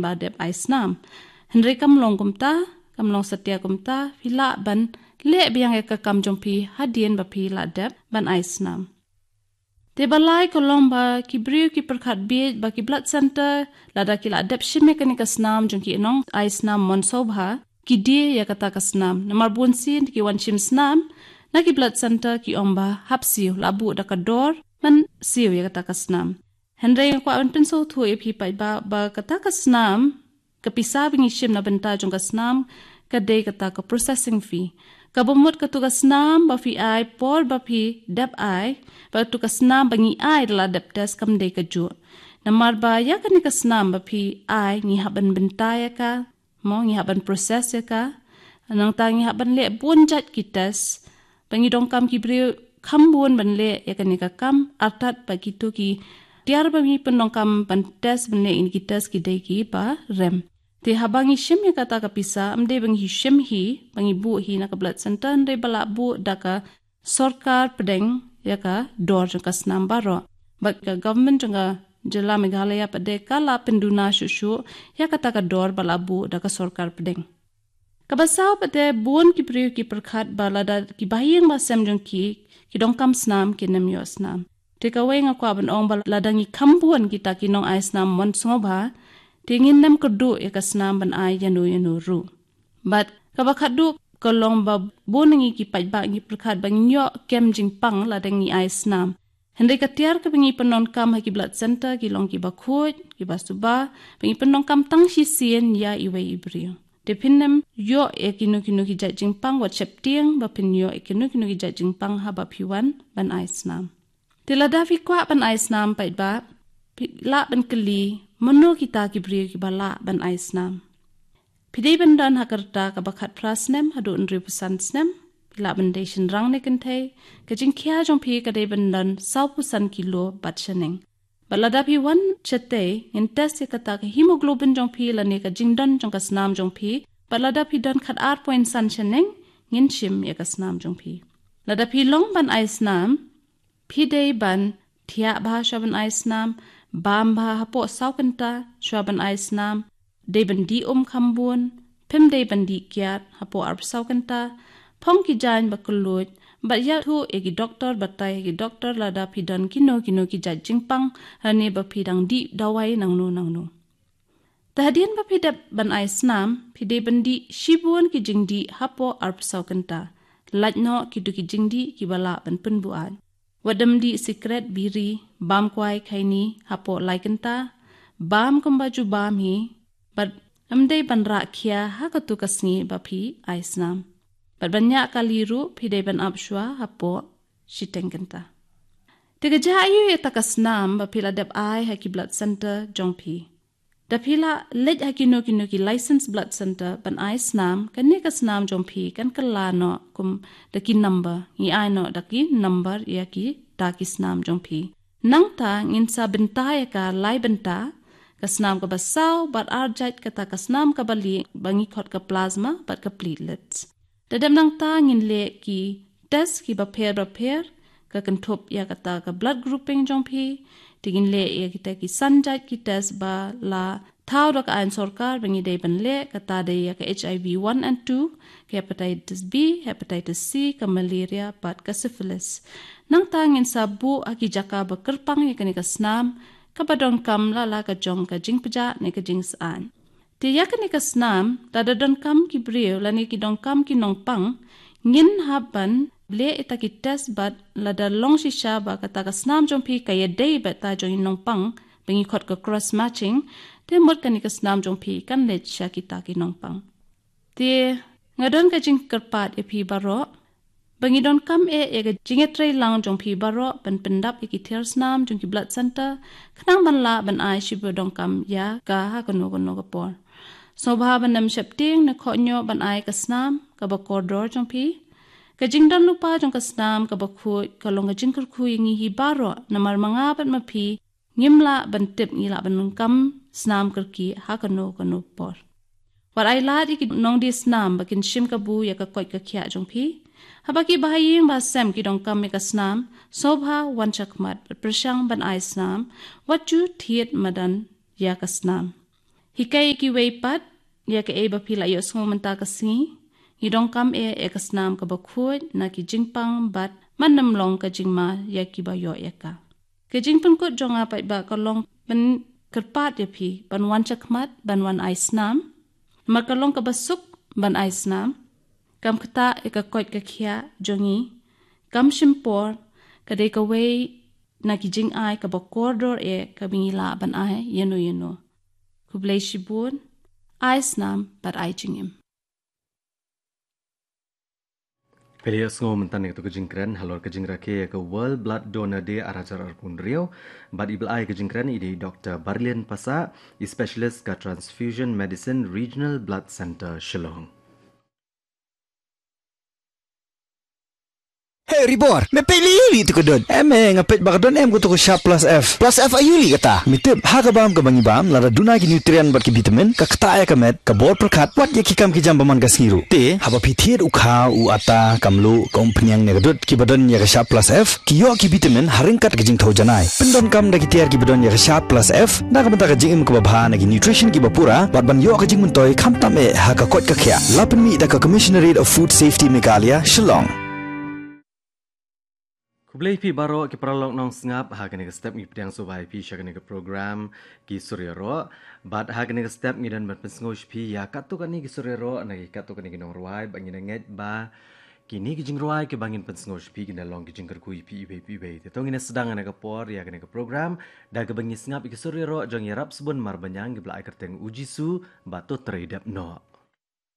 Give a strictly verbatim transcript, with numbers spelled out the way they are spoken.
ba dep ai snam. Hynrei kam long kumta, kam long satia kumta, phi lah ban leh biang ïa ka kam jong phi hadien ba phi la dep ban ai snam. Te ba lai ka long ba ki briew ki pyrkhat bieit ba ki blood center, lada ki la dep shim ïa kane ka snam jong ki nong ai snam mon sngewbha, ki die ïa kata ka snam. Namar bun sien ki wan shim snam na ki blood center ki ong ba hap siew, la buh da ka dor ban siew ïa kata ka snam. Hynrei nga kwah ban pynsngewthuh ïa phi paidbah ba kata ka snam, ka pisa ba ngi shim na bynta jong ka snam, ka dei kata ka processing fee. Kaba mut katu ka snam ba phi ai por ba phi dep ai, bad katu ka snam ba ngi ai da la dep test kam dei kajuh. Namar ba ïa kane ka snam ba phi ai ngi hap ban bynta ïa ka, mo, ngi hap ban process ïa ka. Nangta ngi hap ban leh bun jait ki test. Ba ngi donkam ki briew kham bun ban leh ïa kane ka kam, artat ba kito ki tiar ba ngi pyndonkam ban test, ban leh ïa kine ki test ki dei kiba rem. Te haba ngi shim ïa kata ka pisa, ym dei ba ngi shim hi, ba ngi buh hi na ka blood center, hynrei ba la buh da ka sorkar pdeng ïa ka dor jong ka snam baroh. Bad ka government jong ka jylla Meghalaya pat de ka la pynduna shuh shuh ïa kata ka dor ba la buh da ka sorkar pdeng. Kaba saw pat de bun ki briew ki pyrkhat ba lada ki bahaïing bahasem jong ki ki donkam snam, kin ym ïoh snam. Te kawei nga kwah ban ong ba lada ngi kham bun kita ki nong ai snam mon sngewbha, te ngin ym kyrduh ïa ka snam ban ai ïano ïano ruh. Bad kaba khatduh ka long ba bun na ngi ki paidbah ngi pyrkhat ba ngin ïoh kem jingpang lada ngi ai snam. Hynrei ka tiar kaba ngi pyndonkam ha ki blood center ki long kiba khuid, kiba suba, ba ngi pyndonkam tang shisien ïa iwei i briew. Te phin ym ïoh ïa kino kino ki jait jingpang wat sheptieng ba phin ïoh ïa kino kino ki jait jingpang haba phi wan ban ai snam. Te lada phi kwah ban ai snam paidbah, phi lah ban kylli mano kita ki briew kiba lah ban ai snam. Phi dei ban don ha ka rta kaba khatphra snem haduh hynriewphew san snem, phi lah ban dei shynrang ne kynthei, ka jingkhia jong phi ka dei ban don sawphew san kilo bad shaneng. Bad lada phi wan shatei, ngin test ïa kata ka hemoglobin jong phi lane ka jingdon jong ka snam jong phi, bad lada phi don khatar point san shaneng, ngin shim ïa ka snam jong phi. Lada phi long ban ai snam, phi dei ban thiah bha shuwa ban ai snam, bam bha hapoh saw kynta shuwa ban ai snam, dei ban dih um kham bun, phim dei ban dih kiad hapoh arphew saw kynta, phong ki jaiñ ba kylluid, bad ïathuh ïa ki doktor, batai ïa ki doktor lada phi don kino kino ki jait jingpang, lane ba phi dang dih dawai nangno nangno. Te hadien ba phi dep ban ai snam, phi dei ban dih shibun ki jingdih hapoh arphew saw kynta. Lait noh kito ki jingdih kiba lah ban pynbuaid. Wat ym dih sikret, biri, bam kwai, khaini hapoh lai kynta, bam kumba ju bam hi, bad ym dei ban rah khia ha katu ka sngi ba phi ai snam. Bad ban ñiah kali ruh phi dei ban ap shuwa hapoh shiteng kynta. Te ka jia aiu ïa kata ka snam ba phi la dep ai ha ki blood center jong phi? Da phi la leit ha kino kino ki licensed blood center ban ai snam, kane ka snam jong phi kan kylla noh kum da ki number, ngi ai noh da ki number ïa kita ki snam jong phi. Nangta ngin sa bynta ïa ka lai bynta, ka snam kaba saw bad arjait kata ka snam kaba lieh ba ngi khot ka plasma bad ka platelets. Da dep nangta ngin leh ki test kiba pher bapher, ka kynthup ïa kata ka blood grouping jong phi, te ngin leh ïa kita ki san jait ki test ba la thaw da ka aiñ sorkar ba ngi dei ban leh, kata dei ïa ka H I V one and two, ka hepatitis B, hepatitis C, ka malaria bad ka syphilis. Nangta ngin sa buh ha ki jaka ba kyrpang ïa kane ka snam, kaba donkam la la ka jong ka jingpjah ne ka jingsaiñ. Te ïa kane ka snam, lada donkam ki briew lane ki donkam ki nongpang, ngin hap ban leh ïa kita ki test bad lada long shisha ba kata ka snam jong phi ka ïadei bad ta jong i nongpang, ba ngi khot ka cross matching, te mut kane ka snam jong phi kan leit sha kita ki nongpang. Te nga don ka jingkyrpad ïa phi baroh, ba ngi donkam eh ïa ka jingïatreilang jong phi baroh ban pyndap ïa ki tiar snam jong ki blood center, khnang ban lah ban ai shibun donkam ïa ka ha kano kano ka por. Sngewbha ban ym sheptieng ne khohñioh ban ai ka snam kaba kordor jong phi. Ka jingdon lypa jong ka snam kaba khuid ka long ka jingkyrkhu ïa ngi hi baroh, namar ma nga bad ma phi ngim lah ban tip ngi lah ban donkam snam kyrkieh ha kano kano por. Wat ai lad ïa ki nongdie snam ba kin shim kabu ïa ka koit ka khiah jong phi. Haba ki bahaïing bahasem ki donkam ïa ka snam, sngewbha wan shakhmat bad pyrshang ban ai snam, wat ju thied madan ïa ka snam. Hikai ïa kiwei pat ïa kaei ba phi la ïohsngew mynta ka sngi. Ngi donkam eh ïa ka snam kaba khuid na ki jingpang bad man ym long ka jingma ïa kiba ïoh ïa ka. Ka jingpynkut jong nga pat ba ka long ban kyrpad ïa phi ban wan shakhmat ban wan ai snam. Namar ka long kaba suk ban ai snam. Kam ktah ïa ka koit ka khiah jong ngi. Kam shim por, ka dei kawei na ki jingai kaba kordor eh kaba ngi lah ban ai ïano ïano. Khublei shibun, ai snam bad ai jingim. Phi la ïohsngew mynta ïa kato ka jingkren halor ka jingrakhe ïa ka World Blood Donor Day ar hajar arphew hynriew. Bad iba la ai ka jingkren i dei i Doktor Barlian Passah, i specialist ka Transfusion Medicine, Regional Blood Centre, Shillong. Hey Ribor, me peit lei lei tu ka dud. Em eh, nga peit ba ka don em kato ka Sharp Plus F. Plus F aïu lei kata? Me tip, ha ka bam kaba ngi bam, lada duna ki nutrient bad ki vitamin, ka ktah ïa ka met, ka bor pyrkhat, wat ïa ki kam ki jam ba man ka sngi ruh. Te, haba phi thied u kha, u atta, ka mluh, ka umphniang ne ka dud, kiba don ïa ka Sharp Plus F, ki ïoh ki vitamin, ha ryngkat ka jingthew janai. Pyndonkam da ki tiar kiba don ïa ka Sharp Plus F, na ka bynta ka jingim kaba bha na ki nutrition kiba pura, bad ban ïoh ka jingmyntoi khamtam eh ha ka koit ka khiah. La pynmih da ka Commissionerate of Food Safety Meghalaya, Shillong. Khublei phi baroh ki paralok nongsngap, ha kane ka step ngi pdiang sngewbha ïa phi sha kane ka program Ki Sur Ïaroh. Bad ha kane ka step ngi don ban pynsngew sha phi ïa katto katne ki sur ïaroh na ki katto katne ki nongrwai, bad ngi ngeit ba kine ki jingrwai kiba ngin pynsngew sha phi kin da long ki jingkyrkhu ïa phi iwei pa iwei. Te to ngin sdang ha kane ka por ïa kane ka program da kaba ngi sngap ïa ki sur ïaroh jong i Rapsbun Marbaniang kiba la ai kyrteng U Jisu, bad to trei dep noh.